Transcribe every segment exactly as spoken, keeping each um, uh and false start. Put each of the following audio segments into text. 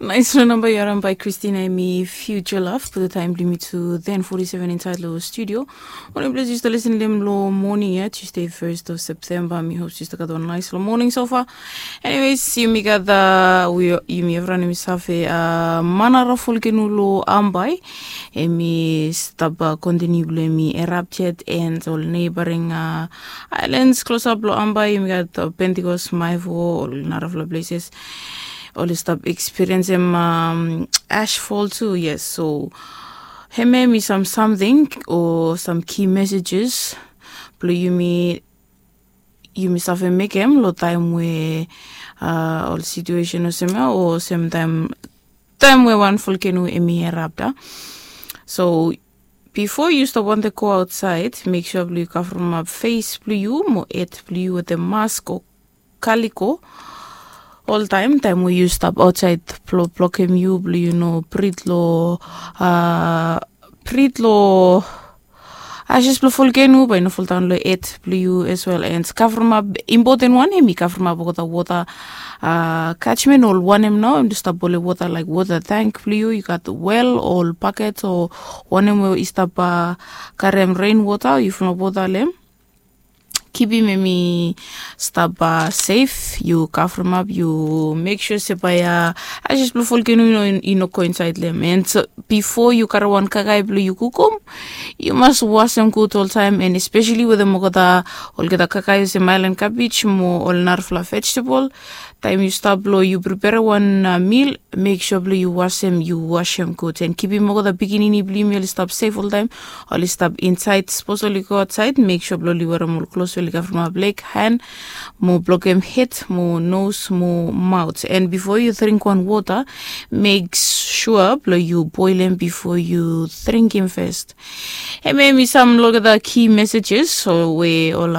Nais long namba yu harim bai Kristina, em i Future Love. Putum taem blong yumi tu ten forty seven insaed long studio. Wanem ples yu stap lisin long em long moning ya, Tuesday, first of September. Mi hop yu stap gat wan nais long moning so far. Anyways, yumi gat, yumi evriwan yumi save, Manara volcano long Ambae, em i stap kontiniu blong em i erupt yet, and ol neighboring islands klosap long Ambae, yumi gat Pentecost, Maevae, ol narafala places oli stap ekspiriensem ashfall tu. Yes, so hemia em i sam samting o sam ki messages blong yumi yumi save mekem long taem we ol situation olsem ya, o olsem taem we wan volcano em i erupt. So bifo yu stap wantem go aotsaed, mek sua blong yu kavremap fes blong yu mo hed blong yu wetem mask o kaliko oltaem, taem we yu stap aotsaed, blong blokem yu blong yu no brit long brit long ashes blong volcano, bae i no foldaon long hed blong yu as well. And kavremap, impoten wan em i kavremap olgeta wota catchment, ol wanem nao em i stap holem wota, laek wota tank blong yu, yu gat well, ol baket o wanem we i stap karem ren wota, yu fulap wota long em. Kipim em i stap sef, yu kavremap, yu mek sua se bae ashes blong volcano i no go insaed long em. And bifo yu karem wan kakae blong yu kukum, yu mas wasem gud oltaem, and espeseli wetem olgeta olgeta kakae olsem aelan kabej mo ol narafala vegetable. Taem yu stap blong yu priperem wan mil, mek sua blong yu wasem, yu wasem gud, and kipim olgeta pikinini blong yumi oli stap sef oltaem. Oli stap insaed, sapos oli go aotsaed, mek sua blong oli werem ol klos we oli kavremap leg, han, mo blokem hed mo nos mo maot. And bifo yu dring wan wota, mek sua blong yu boelem bifo yu dringim fes. Hemia em i sam long olgeta ki messages we ol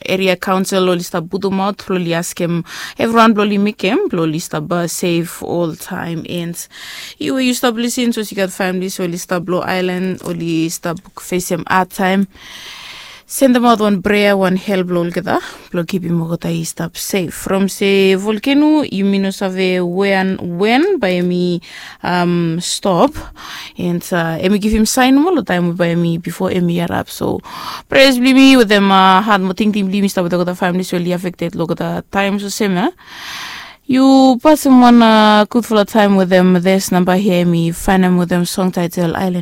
eria kaonsel oli stap putumaot blong oli askem evriwan blong oli mekem blong oli stap sef oltaem. And yu we yu stap lisin, sapos yu gat families we oli stap long aelan, oli stap fesem hadtaem, sendemaot wan prea, wan hel blong olgeta blong kipim olgeta i stap sef. From se volcano, yumi no save wen, wen bae em i stop, and em i givim saen nomo long taem we bae em i, bifo em i erupt. So preas blong yumi wetem hat mo tingting blong yumi stap wetem olgeta families we oli affected long olgeta taems olsem ya. Yu pasem wan gudfala taem wetem this namba hia, em i faenem wetem song taetel Aelan.